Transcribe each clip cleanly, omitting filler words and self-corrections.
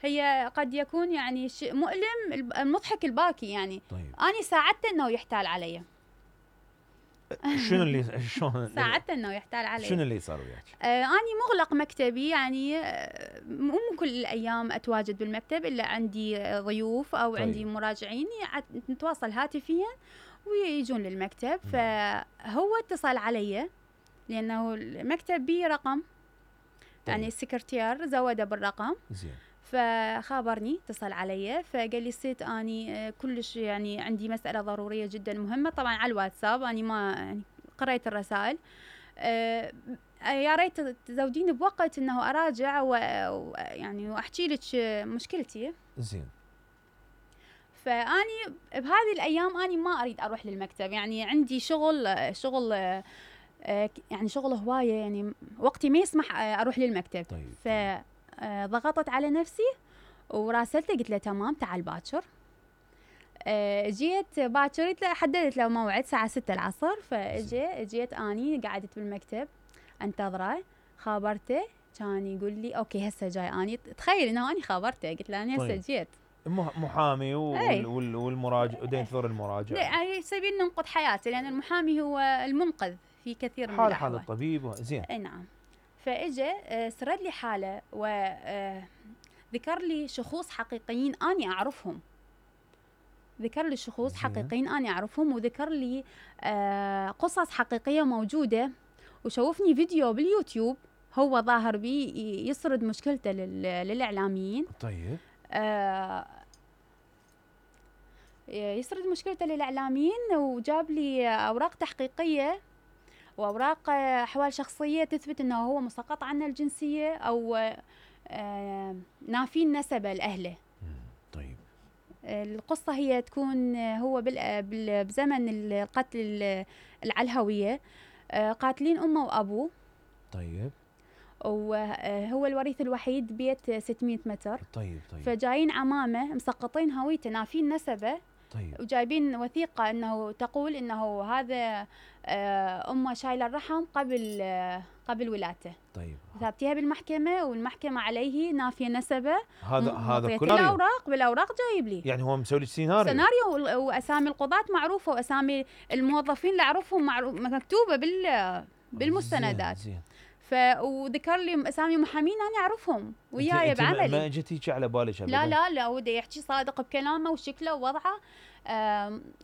هي قد يكون يعني شيء مؤلم، المضحك الباكي يعني. طيب. أنا ساعدته إنه يحتال علي. شنو اللي شلون ساعدته إنه يحتال علي. شنو اللي صار وياك؟ أنا مغلق مكتبي يعني، مو كل الأيام أتواجد بالمكتب إلا عندي ضيوف أو طيب. عندي مراجعين نتواصل هاتفيا ويجون للمكتب. فهو اتصل علي لأنه المكتب بيه رقم. طيب. يعني السكرتير زوده بالرقم. زين. فخابرني، اتصل علي فقال لي ست اني كلش يعني عندي مسألة ضرورية جدا مهمة، طبعا على الواتساب اني ما يعني قريت الرسائل. يا ريت تزوديني بوقت انه اراجع ويعني واحكي لك مشكلتي. زين. فاني بهذه الايام اني ما اريد اروح للمكتب، يعني عندي شغل يعني شغل هواية، يعني وقتي ما يسمح اروح للمكتب. طيب. فضغطت على نفسي وراسلته قلت له تمام تعال باكر. جيت باكر، حددت له موعد الساعة 6 العصر. جيت اني قعدت بالمكتب انتظره، خابرته كان يقول لي اوكي هسه جاي. اني تخيل انه اني خابرته، قلت له انا هسه جيت. محامي والمراجع ودين ثور المراجعة، يعني سبيل ننقذ حياتي، لان المحامي هو المنقذ في كثير من الاحوال. حال الطبيب. زين. اي نعم. فاجى سرد لي حاله وذكر لي شخوص حقيقيين اني اعرفهم. وذكر لي قصص حقيقيه موجوده، وشوفني فيديو باليوتيوب هو ظاهر بي يسرد مشكلته للاعلاميين. طيب. يسرد مشكلته للاعلاميين، وجاب لي اوراق تحقيقيه واوراق احوال شخصيه تثبت انه هو مسقط عنه الجنسيه او نافين نسبه لاهله. طيب. القصه هي تكون هو بزمن القتل العلهويه، قاتلين امه وابوه. طيب. وهو الوريث الوحيد بيت 600 متر. طيب. فجايين عمامه مسقطين هويته نافين نسبه. طيب. وجايبين وثيقة انه تقول انه هذا امه شايله الرحم قبل ولادته. طيب. ثابتيها بالمحكمة، والمحكمة عليه نافية نسبه. هذا كله بالاوراق جايب لي. يعني هو مسوي لي سيناريو واسامي القضاة معروفة، واسامي الموظفين اللي اعرفهم مكتوبة بالمستندات. زين. وذكر لي اسامي محامين انا اعرفهم وياي بعملي. ما اجتيك على بالك ابدا؟ لا وده يحكي صادق بكلامه وشكله ووضعه.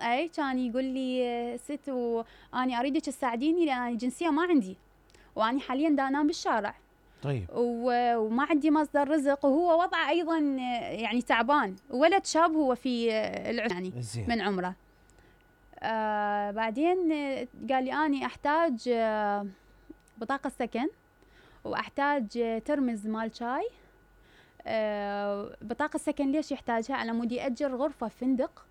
اي كان يقول لي ست واني اريدك تساعديني لان الجنسيه ما عندي، واني حاليا دا انام بالشارع. طيب. وما عندي مصدر رزق، وهو وضعه ايضا يعني تعبان، ولد شاب هو في يعني من عمره. بعدين قال لي اني احتاج بطاقة سكن، واحتاج ترمز مال شاي. بطاقة سكن ليش يحتاجها؟ على مود يأجر غرفة في فندق،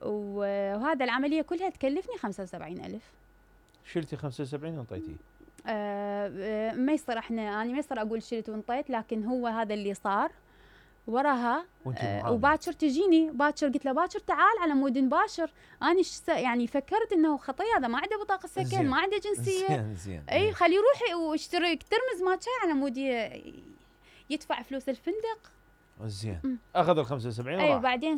وهذا العملية كلها تكلفني 75,000. شلتي 75 وانطيتي؟ ما يصير أنا ما يصير أقول شلت وانطيت، لكن هو هذا اللي صار وراها. وباكر تجيني باكر، قلت له باكر تعال على مود نباشر. أنا يعني فكرت إنه خطية، هذا ما عنده بطاقة سكن، ما عنده جنسية. زين. أي خليه يروح ويشتري ترمز ما شاي على مود يدفع فلوس الفندق. زين. أخذ ال 75 وراح. أي وبعدين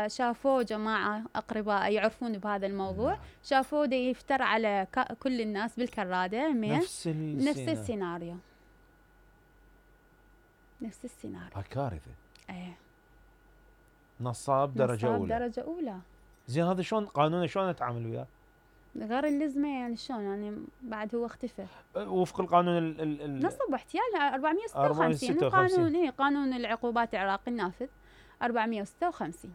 شافوه جماعة أقرباء يعرفون بهذا الموضوع. شافوه ده يفتر على كل الناس بالكرادة. نفس السيناريو. كارثة. ايه. نصاب درجة أولى. زين. هذا شلون قانونه، شلون نتعامل وياه؟ غير اللزمة يعني شلون يعني بعد هو اختفى. وفق القانون نصب واحتيال 456 قانون العقوبات العراقي النافذ 456.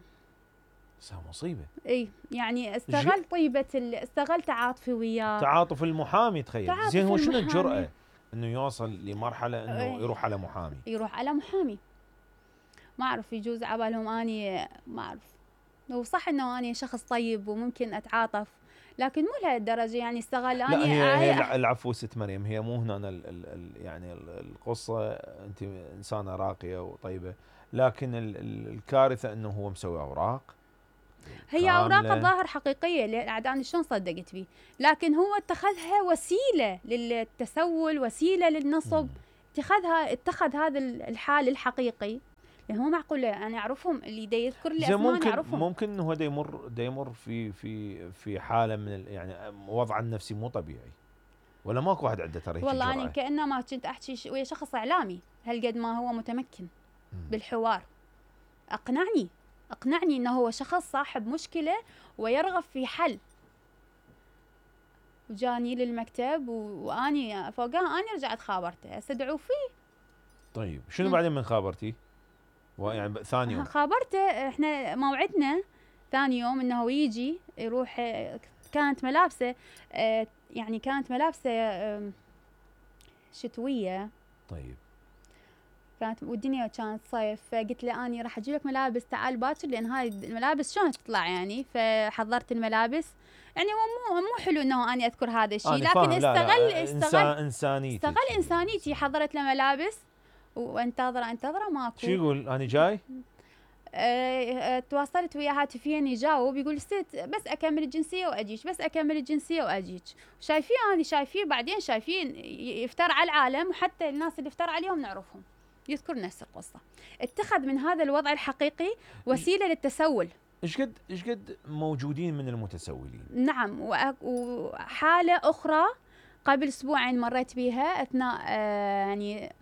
مصيبة. اي يعني استغل تعاطفي وياه، تعاطف المحامي. تخيل. زين هو شنو الجرأة انه يوصل لمرحلة انه يروح على محامي؟ ما اعرف، يجوز عبالهم اني ما اعرف. وصح انه اني شخص طيب وممكن اتعاطف، لكن مو لهالدرجة يعني استغل. لا هي العفو ست مريم، هي مو هنا يعني القصة. انت انسانة راقية وطيبة، لكن الكارثة انه هو مسوي اوراق. هي اوراق الظاهر حقيقية للاعدام، شلون صدقت بيه؟ لكن هو اتخذها وسيلة للتسول، وسيلة للنصب. اتخذ هذا الحال الحقيقي، لأن هو معقوله انا اعرفهم اللي دا يذكر لي زين اسماء اعرفهم. ممكن انه هو دا يمر في حاله من يعني وضعه النفسي مو طبيعي، ولا ماكو واحد عنده ترى هيك والله جرأة؟ انا كانما كنت احكي ويا شخص اعلامي هالقد ما هو متمكن بالحوار. اقنعني انه هو شخص صاحب مشكله ويرغب في حل. وجاني للمكتب واني فوقها اني رجعت خابرته استدعوا فيه. طيب شنو بعدين من خابرتي؟ يعني ثاني يوم خابرته احنا موعدنا ثاني يوم انه يجي يروح. كانت ملابسه يعني كانت ملابسه شتويه. طيب كانت والدنيا كانت صيف، فقلت له اني راح اجيب لك ملابس تعال باكر، لان هاي الملابس شلون تطلع يعني. فحضرت الملابس. يعني هو مو حلو انه اني اذكر هذا الشيء، لكن استغل انسانيتي. حضرت له ملابس وانتظره ماكو. شو يقول انا جاي؟ تواصلت وياه هاتفيا يجاوب يقول ست بس اكمل الجنسيه واجيك، بس اكمل الجنسيه واجيك. شايفين بعدين شايفين يفتر على العالم، وحتى الناس اللي افتر عليهم نعرفهم. يذكر نفس القصه. اتخذ من هذا الوضع الحقيقي وسيله للتسول. ايش قد موجودين من المتسولين؟ نعم. وحاله اخرى قبل اسبوعين مريت بها اثناء يعني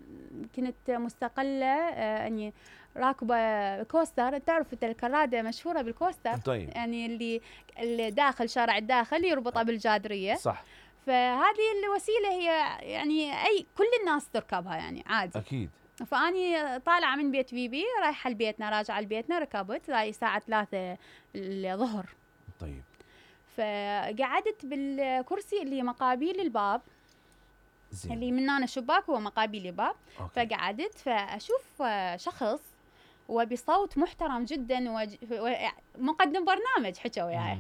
كنت مستقله يعني راكبه كوستر. تعرف انت الكراده مشهوره بالكوستر. طيب. يعني اللي داخل شارع الداخل يربطها بالجادريه. صح. فهذه الوسيله هي يعني كل الناس تركبها يعني عادي. اكيد. فاني طالعه من بيت بيبي رايحه لبيتنا راجعه لبيتنا، ركبت هاي الساعه 3 الظهر. طيب. فقعدت بالكرسي اللي مقابيل الباب. زين. اللي من هنا شباك هو مقابيل الباب. فقعدت فاشوف شخص وبصوت محترم جدا مقدم برنامج حكى وياي.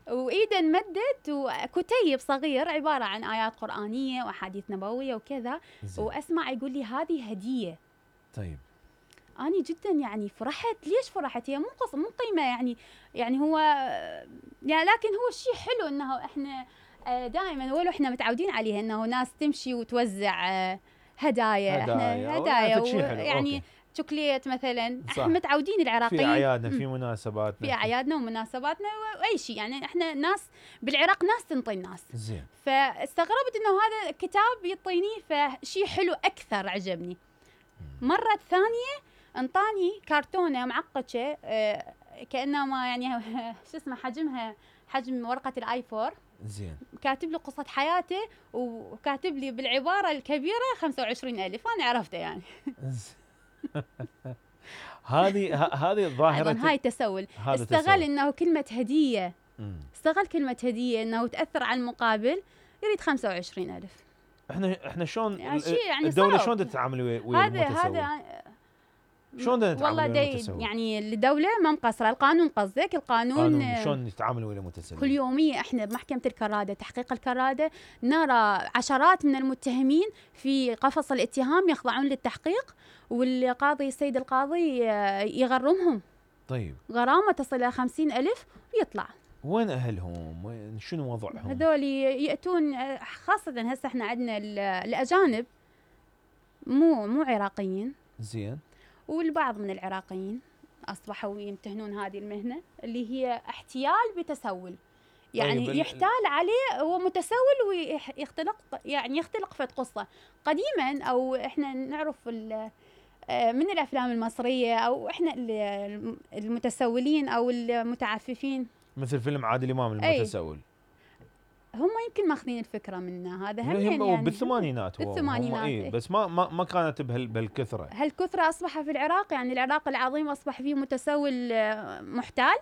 وايده انمدت وكتيب صغير عباره عن ايات قرانيه واحاديث نبويه وكذا. واسمع يقول لي هذه هديه. طيب. اني جدا يعني فرحت. ليش فرحت؟ هي مو قيمه يعني هو يعني، لكن هو شيء حلو انه احنا دائما ولو احنا متعودين عليه انه ناس تمشي وتوزع هدايا. احنا هدايا يعني شوكليت مثلا. صح. احنا متعودين العراقيين في اعيادنا في مناسباتنا، في اعيادنا ومناسباتنا واي شيء. يعني احنا ناس بالعراق ناس تنطي الناس. زين. فاستغربت انه هذا الكتاب يعطيني فشيء حلو اكثر عجبني. مرة ثانية انطاني كرتونة معقدة كأنما يعني شو اسمه حجمها حجم ورقة الاي 4. زين. كاتب لي قصة حياته وكاتب لي بالعبارة الكبيرة 25,000. أنا عرفته يعني. هذه ظاهرة. هاي تسول. استغل انه كلمة هدية. استغل كلمة هدية انه تأثر على المقابل. يريد 25,000. احنا شلون يعني الدولة شلون تتعامل ويا المتسول؟ شلون والله يعني الدولة ما مقصرة. القانون قصدك القانون شلون يتعامل ويا المتسول؟ كل يومية احنا بمحكمة الكرادة تحقيق الكرادة نرى عشرات من المتهمين في قفص الاتهام يخضعون للتحقيق، والقاضي السيد القاضي يغرمهم. طيب. غرامة تصل إلى 50,000 ويطلع. وين أهلهم؟ شنو وضعهم؟ هذول يأتون خاصة هسه احنا عندنا الأجانب مو عراقيين. زين. والبعض من العراقيين أصبحوا يمتهنون هذه المهنة اللي هي احتيال بتسول. يعني طيب يحتال عليه هو متسول يختلق فد قصة. قديما أو احنا نعرف من الأفلام المصرية أو احنا المتسولين أو المتعففين مثل فيلم عادل إمام المتسول. هم يمكن ماخذين الفكره منه هذا. هم يعني بالثمانينات بس ما كانت بهالكثره. هالكثره اصبح في العراق. يعني العراق العظيم اصبح فيه متسول محتال.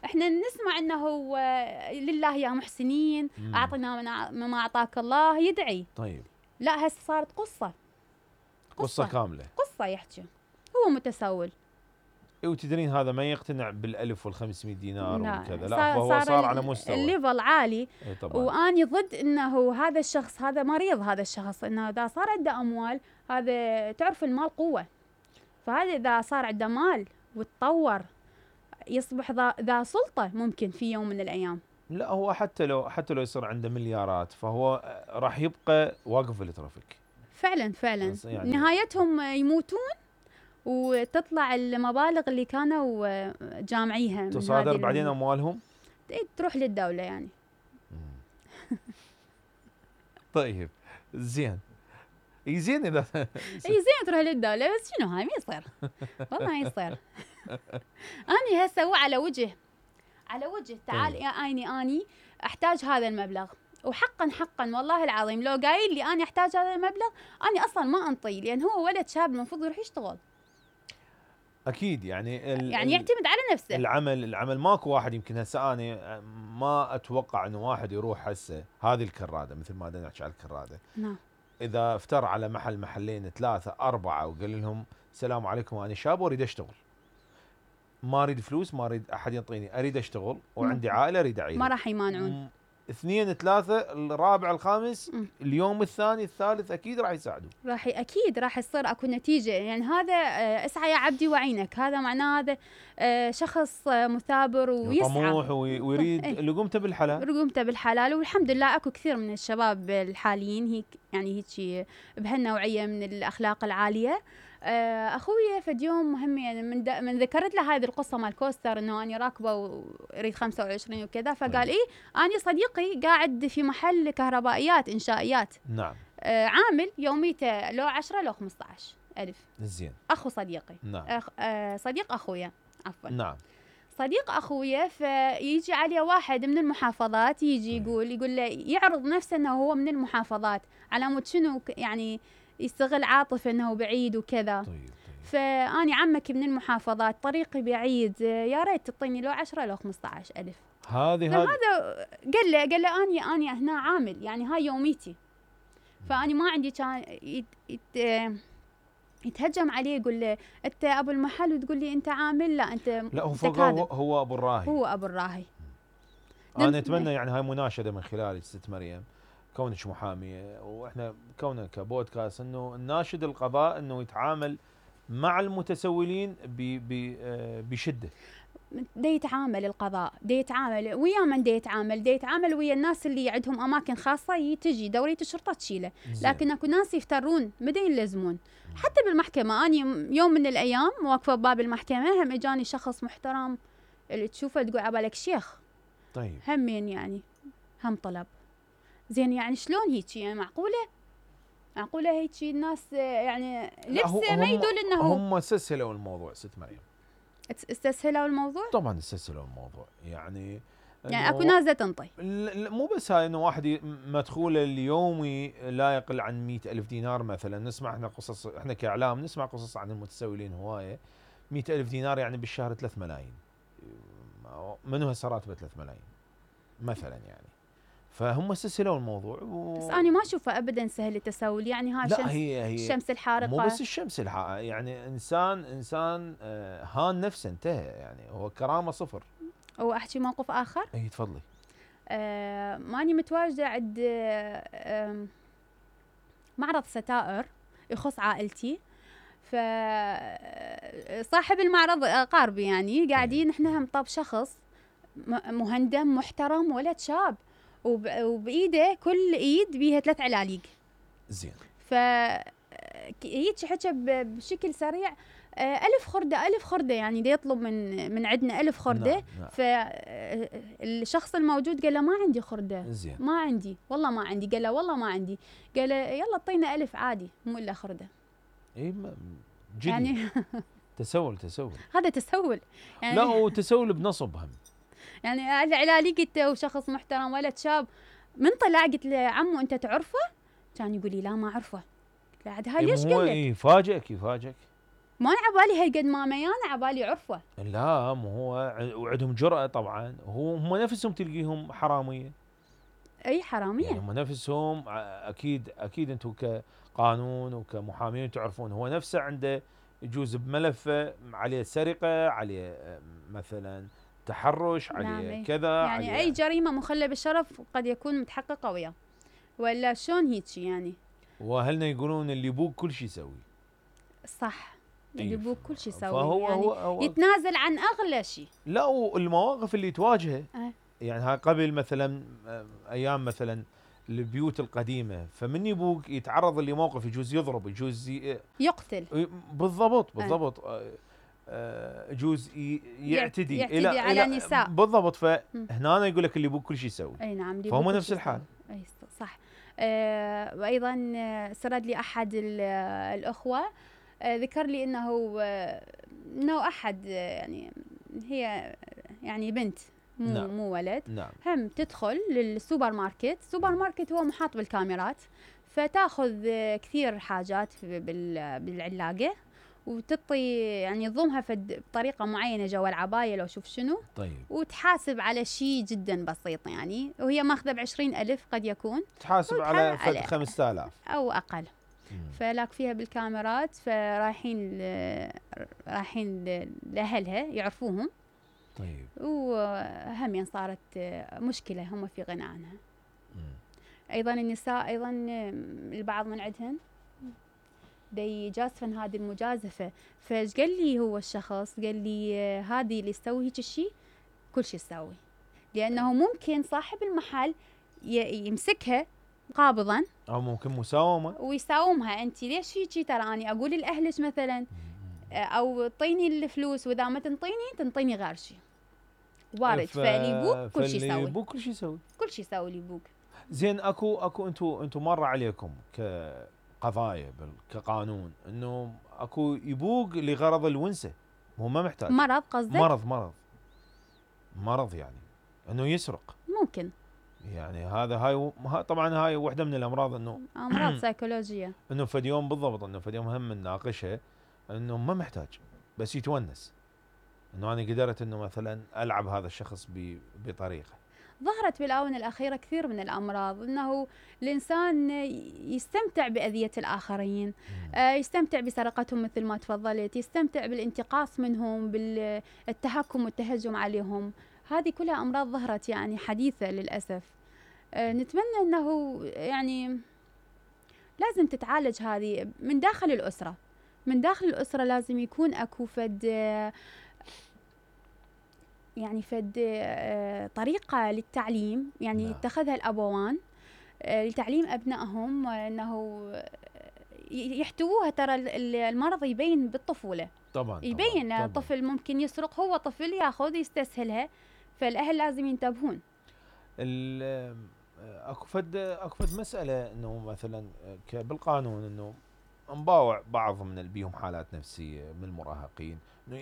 احنا نسمع انه لله يا محسنين اعطنا ما اعطاك الله يدعي. طيب. لا هسه صارت قصه كامله. قصه يحكي هو متسول. وتدرين هذا ما يقتنع بال1000 وال500 دينار وكذا. لا فهو صار على مستوى الليفل عالي. طبعا. واني ضد انه هذا الشخص هذا مريض. هذا الشخص انه اذا صار عنده اموال هذا تعرف المال قوه. فهذا اذا صار عنده مال وتطور يصبح ذا سلطه ممكن في يوم من الايام. لا هو حتى لو يصير عنده مليارات فهو راح يبقى واقف بالترافيك. فعلا فعلا بس يعني نهايتهم يموتون وتطلع المبالغ اللي كانوا جامعيها من تصادر بعدين اموالهم تروح للدولة يعني. طيب زين زين اذا زين تروح للدولة، بس شنو هاي ما يصير والله ما يصير. اني هسه هو على وجه تعال طيب. يا اني احتاج هذا المبلغ، وحقا والله العظيم لو قايل لي انا احتاج هذا المبلغ اني اصلا ما انطيه، لان هو ولد شاب المفروض يروح يشتغل. اكيد يعني يعني يعتمد على نفسه. العمل ماكو واحد. يمكن هسه انا ما اتوقع انه واحد يروح هسه هذه الكراده مثل ما بدنا نحكي على الكراده. نعم. اذا افتر على محلين 3 4 وقال لهم السلام عليكم انا شاب واريد اشتغل، ما اريد فلوس، ما اريد احد يعطيني، اريد اشتغل وعندي عائله اريد اعيش، ما راح يمانعون. 2 3 الرابع الخامس اليوم الثاني الثالث اكيد راح يساعدوا. اكيد راح يصير اكو نتيجه. يعني هذا اسعى يا عبدي وعينك، هذا معناه هذا شخص مثابر ويسعى طموح ويريد لقمته بالحلال. والحمد لله اكو كثير من الشباب الحاليين هيك يعني هيك بهالنوعيه من الاخلاق العاليه. اخوي فد يوم مهم يعني من ذكرت له هذه القصه مال كوستر انه اني راكبه واريد 25 وكذا، فقال ايه اني صديقي قاعد في محل كهربائيات انشائيات. نعم. عامل يوميته لو 10 لو 15 ألف. زين. اخو صديقي. نعم. صديق اخويا عفوا. نعم. صديق اخويا فيجي عليه واحد من المحافظات يجي يقول له يعرض نفسه انه هو من المحافظات على مود شنو يعني يستغل عاطفه انه بعيد وكذا. طيب. فاني عمك من المحافظات طريقي بعيد، يا ريت تعطيني لو 10 لو 15 ألف. هذا قال له اني هنا عامل يعني هاي يوميتي. فاني ما عندي كان يتهجم عليه يقول له انت ابو المحل وتقول لي انت عامل. لا انت لا هو ابو الراهي. هو ابو الراهي. انا اتمنى يعني هاي مناشده من خلال ست مريم كونك محاميه واحنا كوننا كبودكاست انه نناشد القضاء انه يتعامل مع المتسولين بشده. يتعامل القضاء يتعامل ويا من يتعامل ويا الناس اللي عندهم اماكن خاصه تجي دوريه الشرطه تشيله. لكن اكو ناس يفترون بدين يلزمون. حتى بالمحكمه اني يوم من الايام واقفه بباب المحكمه هم اجاني شخص محترم اللي تشوفه تقول عبالك شيخ. طيب. همين يعني هم طلب. زين يعني شلون هيك يعني معقوله هيك الناس يعني لبسه ما يدل انه هم استسهلوا الموضوع ست مريم. استسهلوا الموضوع؟ طبعا استسهلوا الموضوع يعني اكو ناس تنطي. مو بس هاي انه واحد مدخوله اليومي لا يقل عن 100,000 دينار مثلا. نسمع احنا قصص، احنا كاعلام نسمع قصص عن المتسولين هوايه. 100,000 دينار يعني بالشهر 3 ملايين، منو هسه راتبه 3 ملايين مثلا يعني. فهم استسهلوا الموضوع بس انا ما اشوفه ابدا سهل التسول يعني. لا هي الشمس الحارقه. مو بس الشمس الحارقه يعني انسان هان نفسه انتهى يعني هو كرامه صفر. واحكي موقف اخر. اي تفضلي. ماني متواجده عند معرض ستائر يخص عائلتي. فصاحب المعرض قاربي يعني قاعدين احنا هم طاب شخص مهندم محترم ولد شاب وبايده كل ايد بيها 3 علاليق. زين. هيك حكى بشكل سريع 1000 خردة يعني دي يطلب من عندنا 1000 خردة. نعم. فالشخص الموجود قال له ما عندي خردة. زين. ما عندي والله ما عندي. قال له والله ما عندي. قال له يلا اعطينا 1000 عادي مو الا خردة. اي جدي يعني تسول هذا تسول يعني. لا وتسول بنصب هم يعني علاليقته وشخص محترم ولد شاب. من طلع قلت له عمو انت تعرفه؟ كان يقول لي لا ما اعرفه. قلت له عاد هاي ليش قال لك؟ يفاجئك ما عبالي هالقد ما انا عبالي عرفه. لا مو هو وعندهم جرأة طبعا. هم نفسهم تلقيهم حراميه. اي حراميه يعني هم نفسهم اكيد انتم كقانون وكمحامين تعرفون هو نفسه عنده يجوز بملفه عليه سرقه، عليه مثلا تحرش، عليه نعم. كذا يعني عليه اي جريمه مخله بالشرف قد يكون متحققه وياه. ولا شلون هيك يعني. واهلنا يقولون اللي يبوك كل شيء يسوي. صح. اللي يبوك كل شيء يسوي فهو يعني هو يتنازل عن اغلى شيء. لا والمواقف اللي تواجهه يعني هاي قبل مثلا ايام مثلا البيوت القديمه، فمن يبوق يتعرض لموقف يجوز يضرب، يجوز يقتل. بالضبط يجوز يعتدي يعتدي على نساء. بالضبط. فهنا يقول لك اللي يبوق كل شيء يسوي. اي نعم، فهم نفس الحال. اي صح. وايضا سرد لي احد الاخوه، ذكر لي انه احد يعني هي يعني بنت مو ولد. نعم. هم تدخل للسوبر ماركت. السوبر ماركت هو محاط بالكاميرات، فتاخذ كثير حاجات بالعلاقه وتعطي يعني تضمها بطريقه معينه جوا العبايه لو شوف شنو. طيب. وتحاسب على شيء جدا بسيط يعني، وهي ماخذه ب20,000 قد يكون، تحاسب على 5000 او اقل. فلاك فيها بالكاميرات، فرايحين لاهلها يعرفوهم. طيب. وهم صارت مشكله هم في غنى عنها. ايضا النساء ايضا البعض من عندهن يجازفن هذه المجازفه. فايش قال لي هو الشخص؟ قال لي هذه اللي تسوي هيك الشيء كل شيء تسوي، لانه ممكن صاحب المحل يمسكها قابضا، او ممكن مساومه ويساومها. انت ليش هيجي؟ ترى اني اقول لاهلك مثلا، او اعطيني الفلوس، واذا ما تنطيني غير شيء. وارد. فاللي يبوق كل شيء يسوي. يبوق كل شيء يسوي. كل شيء يسوي اللي يبوق. زين اكو انتم مر عليكم كقضايا كقانون انه اكو يبوق لغرض الونسه، هو ما محتاج مرض قصدك؟ مرض يعني انه يسرق ممكن. يعني هاي طبعا هاي وحده من الامراض، انه امراض سيكولوجيه، انه فد يوم بالضبط، انه فد يوم هم نناقشها انه ما محتاج بس يتونس انه انا قدرت انه مثلا العب هذا الشخص بطريقه. ظهرت بالآونة الأخيرة كثير من الأمراض، أنه الإنسان يستمتع بأذية الآخرين، يستمتع بسرقتهم مثل ما تفضلت، يستمتع بالانتقاص منهم، بالتهكم والتهجم عليهم. هذه كلها أمراض ظهرت يعني حديثة للأسف. نتمنى أنه يعني لازم تتعالج هذه من داخل الأسرة. من داخل الأسرة لازم يكون أكو طريقة للتعليم، يعني يتخذها الأبوان لتعليم أبنائهم، أنه يحتووها. ترى المرض يبين بالطفولة طبعا، يبين طبعاً. طفل ممكن يسرق، هو طفل ياخذ يستسهلها، فالأهل لازم ينتبهون. اكو فد مسألة انه مثلا بالقانون انه مباوع بعض من اللي بيهم حالات نفسية من المراهقين انه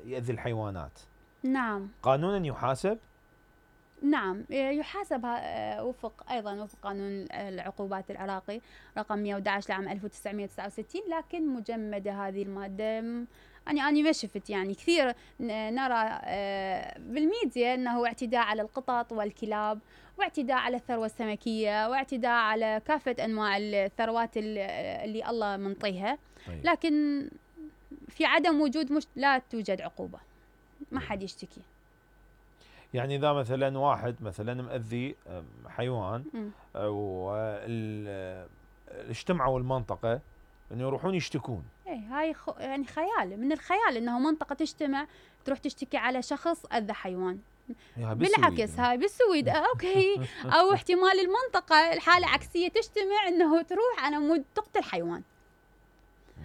يؤذي الحيوانات. نعم. قانونا يحاسب؟ نعم يحاسب وفق قانون العقوبات العراقي رقم 111 لعام 1969، لكن مجمدة هذه المادة. يعني أنا ما شفت يعني كثير نرى بالميديا أنه اعتداء على القطط والكلاب، واعتداء على الثروة السمكية، واعتداء على كافة أنواع الثروات اللي الله منطيها. طيب. لكن في عدم وجود لا توجد عقوبة، ما حد يشتكي. يعني إذا مثلا واحد مثلا مؤذي حيوان واجتمعوا المنطقة انه يروحون يشتكون، هاي يعني خيال من الخيال انه منطقة تجتمع تروح تشتكي على شخص اذى حيوان. بالعكس هاي بالسويد اوكي. او احتمال المنطقة الحالة عكسية تجتمع انه تروح على تقتل حيوان،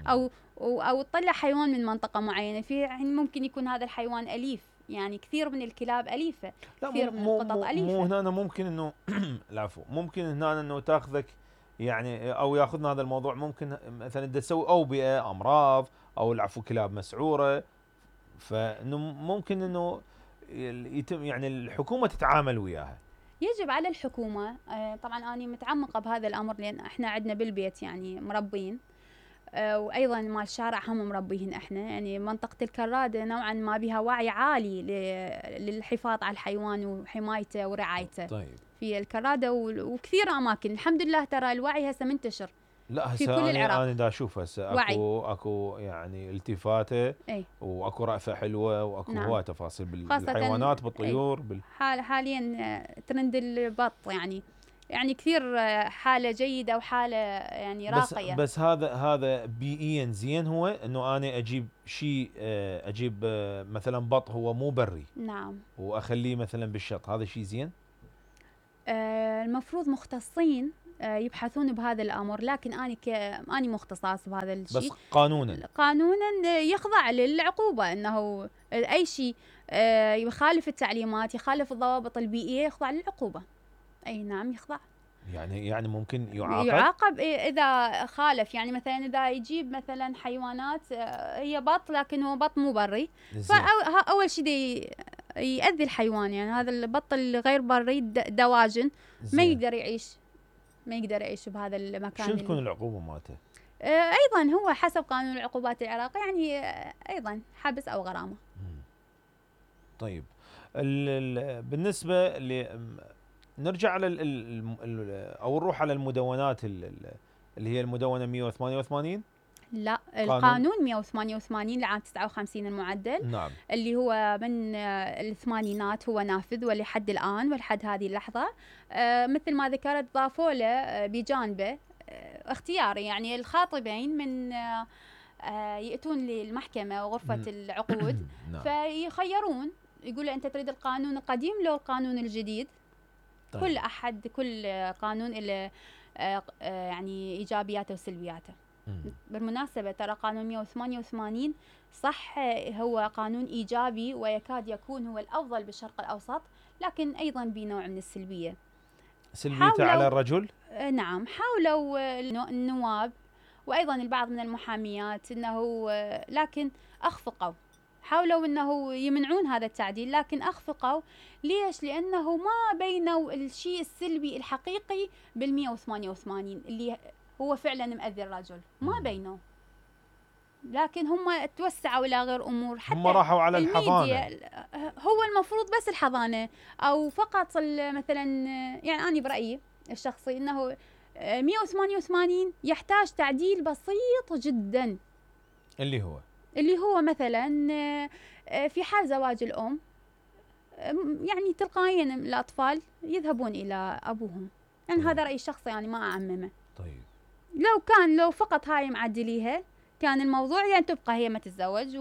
او تطلع حيوان من منطقة معينة. في يعني ممكن يكون هذا الحيوان اليف، يعني كثير من الكلاب أليفة، كثير من القطط أليفة. مو هنا ممكن انه العفو، ممكن هنا انه تاخذك يعني او ياخذنا هذا الموضوع، ممكن مثلا تسوي اوبئة امراض او العفو كلاب مسعورة، فانه ممكن انه يتم يعني الحكومة تتعامل وياها. يجب على الحكومة، طبعا أنا متعمقة بهذا الأمر لأن احنا عندنا بالبيت يعني مربين، وايضا مال الشارع هم مربيهن احنا. يعني منطقه الكراده نوعا ما بها وعي عالي للحفاظ على الحيوان وحمايته ورعايته. طيب. في الكراده وكثير اماكن الحمد لله ترى الوعي هسه منتشر. لا في كل العراق. انا دا اشوف هسه اكو يعني التفاته، واكو رأفة حلوه، واكو هواي تفاصيل بالحيوانات بالطيور. حاليا ترند البط يعني يعني كثير حالة جيدة وحالة يعني راقية. بس هذا بيئيا زين، هو انه انا اجيب شيء، اجيب مثلا بط هو مو بري نعم. واخليه مثلا بالشط، هذا شيء زين؟ المفروض مختصين يبحثون بهذا الامر، لكن اني مو اختصاص بهذا الشيء. بس قانونا يخضع للعقوبة، انه اي شيء يخالف التعليمات، يخالف الضوابط البيئية، يخضع للعقوبة. اي نعم يخضع. يعني ممكن يعاقب اذا خالف. يعني مثلا اذا يجيب مثلا حيوانات هي بط لكن هو بط مو بري، فاول شيء يأذي الحيوان. يعني هذا البط الغير بري دواجن ما يقدر يعيش بهذا المكان. شو تكون العقوبة مالته؟ ايضا هو حسب قانون العقوبات العراقي، يعني ايضا حبس او غرامة. طيب بالنسبة نرجع على او نروح على المدونات اللي هي المدونة 188. لا، القانون 188 لعام 59 المعدل. نعم. اللي هو من الثمانينات هو نافذ ولحد الآن ولحد هذه اللحظة. مثل ما ذكرت ضافوا له بجانبه اختياري، يعني الخاطبين من يأتون للمحكمة وغرفة العقود نعم. فيخيرون، يقول أنت تريد القانون القديم لو القانون الجديد. طيب. كل قانون له يعني إيجابياته وسلبياته. بالمناسبة ترى قانون 188 صح هو قانون إيجابي ويكاد يكون هو الأفضل بالشرق الأوسط، لكن أيضا بنوع من السلبية. سلبيته على الرجل؟ نعم، حاولوا النواب وأيضا البعض من المحاميات أنه لكن أخفقوا، حاولوا أنه يمنعون هذا التعديل لكن أخفقوا. ليش؟ لأنه ما بينوا الشيء السلبي الحقيقي بال188 اللي هو فعلا مأذي الرجل، ما بينه. لكن هم توسعوا إلى غير أمور، حتى هم راحوا على الحضانة. هو المفروض بس الحضانة أو فقط مثلا. يعني أنا برأيي الشخصي أنه 188 يحتاج تعديل بسيط جدا، اللي هو مثلا في حال زواج الأم، يعني تلقائيا الأطفال يذهبون إلى أبوهم. يعني هذا رأيي الشخصي، يعني ما أعممه. طيب، لو فقط هاي معدليها كان الموضوع، يعني تبقى هي ما تتزوج